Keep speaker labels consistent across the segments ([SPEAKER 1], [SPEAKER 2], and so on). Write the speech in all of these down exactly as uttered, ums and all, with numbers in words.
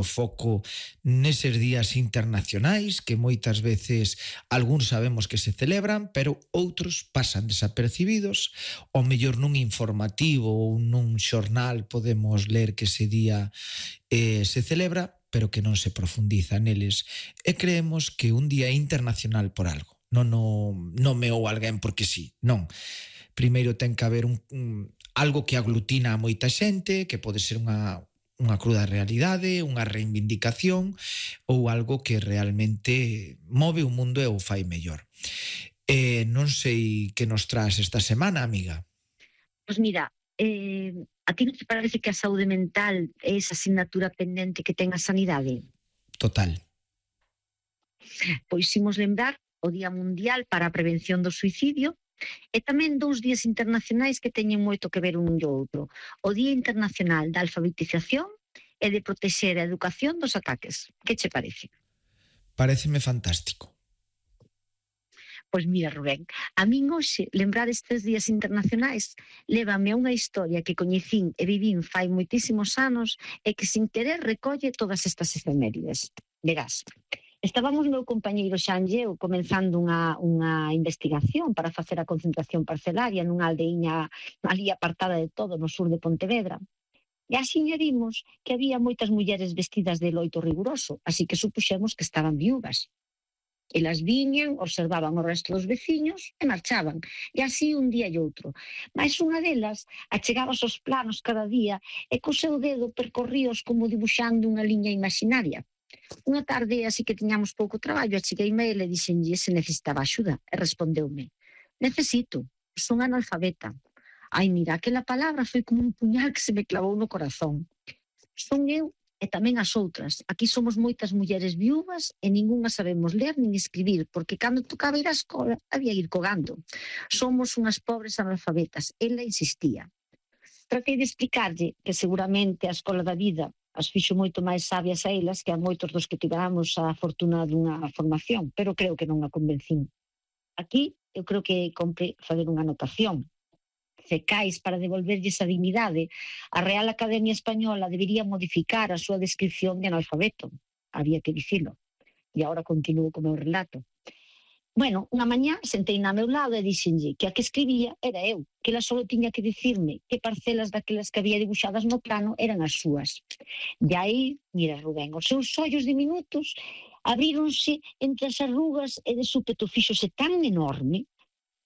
[SPEAKER 1] o foco neses días internacionais que moitas veces algúns sabemos que se celebran, pero outros pasan desapercibidos. O mellor nun informativo ou nun xornal podemos ler que ese día eh, se celebra, pero que non se profundiza neles. E creemos que un día internacional por algo. Non o nomeou alguén porque sí, non. Primeiro ten que haber un, un, algo que aglutina a moita xente, que pode ser unha unha cruda realidade, unha reivindicación ou algo que realmente move o mundo e o fai mellor. Eh, non sei que nos traz esta semana, amiga.
[SPEAKER 2] Pois mira, eh, a ti non te parece que a saúde mental é esa asignatura pendente que ten a sanidade?
[SPEAKER 1] Total.
[SPEAKER 2] Pois imos lembrar o Día Mundial para a Prevención do Suicidio e tamén dous días internacionais que teñen moito que ver un e outro. O Día Internacional da Alfabetización e de protexer a educación dos ataques. Que che parece?
[SPEAKER 1] Paréceme fantástico.
[SPEAKER 2] Pois mira, Rubén, a min hoxe lembrar estes días internacionais lévame a unha historia que coñecín e vivín fai moitísimos anos e que sin querer recolle todas estas efemérides. Verás, estábamos meu compañeiro Xan e eu comenzando unha, unha investigación para facer a concentración parcelaria nunha aldeiña ali apartada de todo no sur de Pontevedra. E así vimos que había moitas mulleres vestidas de loito riguroso, así que supuxemos que estaban viúvas. Elas viñan, observaban o resto dos veciños e marchaban. E así un día e outro. Mais unha delas achegaba os planos cada día e co seu dedo percorríos como dibuxando unha liña imaginaria. Unha tarde, así que tiñamos pouco traballo, achegueime a ele e dixenlle se necesitaba axuda. E respondeume: necesito, son analfabeta. Ai, mira, aquela palabra foi como un puñal que se me clavou no corazón. Son eu e tamén as outras. Aquí somos moitas mulleres viúvas e ningunha sabemos ler nin escribir, porque cando tocaba ir á escola había ir cogando. Somos unhas pobres analfabetas. Ela insistía. Tratei de explicarlle que seguramente a escola da vida as fixo moito máis sabias a elas que a moitos dos que tivamos a fortuna dunha formación, pero creo que non a convencín. Aquí eu creo que compre fazer unha anotación. Cecais para devolverlle esa dignidade, a Real Academia Española debería modificar a súa descripción de analfabeto. Había que dicilo. E agora continuo co meu relato. Bueno, unha mañá sentei na meu lado e dixenlle que a que escribía era eu, que ela só tiña que dicirme que parcelas daquelas que había dibuixadas no plano eran as súas. E aí, mira, Rubén, os seus ollos diminutos abríronse entre as arrugas e de súpeto fíxose tan enorme,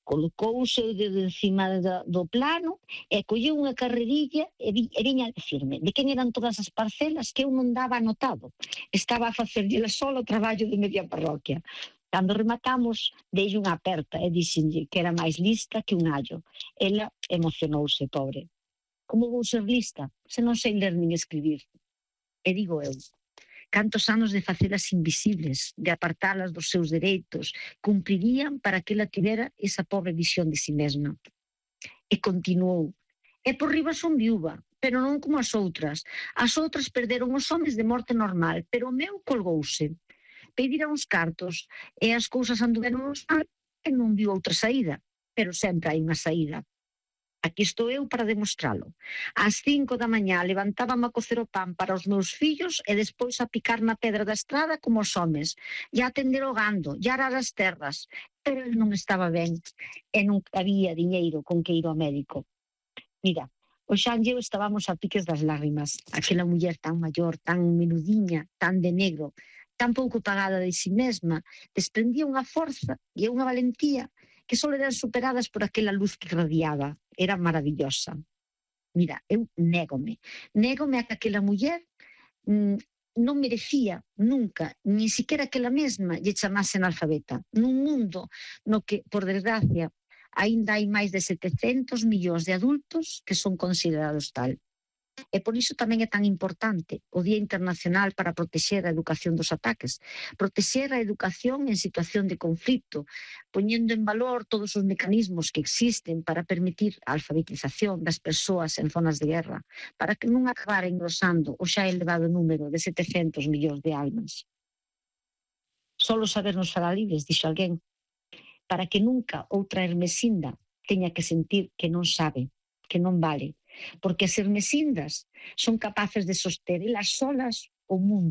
[SPEAKER 2] colocou o seu dedo encima do, do plano e colleu unha carrerilla e, vi, e viña a dicirme de quen eran todas as parcelas que eu non daba anotado. Estaba a facerlle solo o traballo de media parroquia. Cando rematamos, dei unha aperta e dixenlle que era máis lista que un allo. Ela emocionouse, pobre. Como vou ser lista se non sei ler nin escribir? E digo eu, cantos anos de facelas invisibles, de apartalas dos seus dereitos, cumprirían para que ela tivera esa pobre visión de si mesma. E continuou. E por riba son viúva, pero non como as outras. As outras perderon os homes de morte normal, pero o meu colgouse. Pedira uns cartos e as cousas anduveron mal e non viu outra saída. Pero sempre hai unha saída. Aquí estou eu para demostralo. Ás cinco da mañá levantábame a cocer o pan para os meus fillos e despois a picar na pedra da estrada como os homes, e a atender o gando, e arar as terras. Pero ele non estaba ben e non había diñeiro con que ir ao médico. Mira, o Xan e eu estábamos a piques das lágrimas. Aquela muller tan maior, tan menudiña, tan de negro, tan pouco pagada de si mesma, desprendía unha forza e unha valentía que só eran superadas por aquela luz que radiaba. Era maravillosa. Mira, eu négome. Négome a que aquela muller mmm, non merecía nunca, nin siquiera aquela mesma lle chamase analfabeta. Nun mundo no que, por desgracia, aínda hai máis de setecentos millóns de adultos que son considerados tal. E por iso tamén é tan importante o Día Internacional para protexer a educación dos ataques, protexer a educación en situación de conflito, poñendo en valor todos os mecanismos que existen para permitir a alfabetización das persoas en zonas de guerra, para que non acabara engrosando o xa elevado número de setecentos millóns de almas. Solo sabernos falar libres, dixo alguén, para que nunca outra Hermesinda teña que sentir que non sabe, que non vale, porque as Hermesindas son capaces de soster elas solas o mundo.